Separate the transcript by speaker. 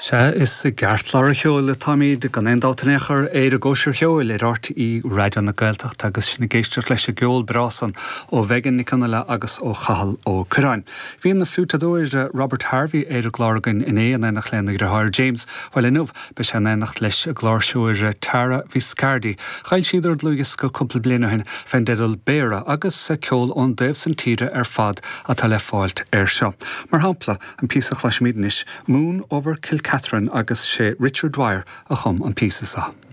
Speaker 1: Sea, is i gceartlár an cheoil atáimid, gan aon dabht in aon chor, ar an gCóisir Cheoil ar RTÉ Raidió na Gaeltachta agus sinn ag éisteacht leis an gceol breá san ó Mhegan Nic Fhionnghaile agus ó Chathal Ó Curráin. Bhí an fliúiteadóir Robert Harvey ar an gclár againn inné in éineacht lena dheartháir James. Bhuel inniu beidh sé in éineacht leis an gcláirseoir Tara Viscardi. D'fhoilsíodar dlúthdhiosca cúpla bliain ó shin fén dteideal Béara agus ceol ón dtaobh san tíre ar fad atá le fáilt air seo. Mar shampla, An píosa a chloisfimid anois, Moon Over Kilcatherine agus sé Richard Dwyer a chum an píosa seo.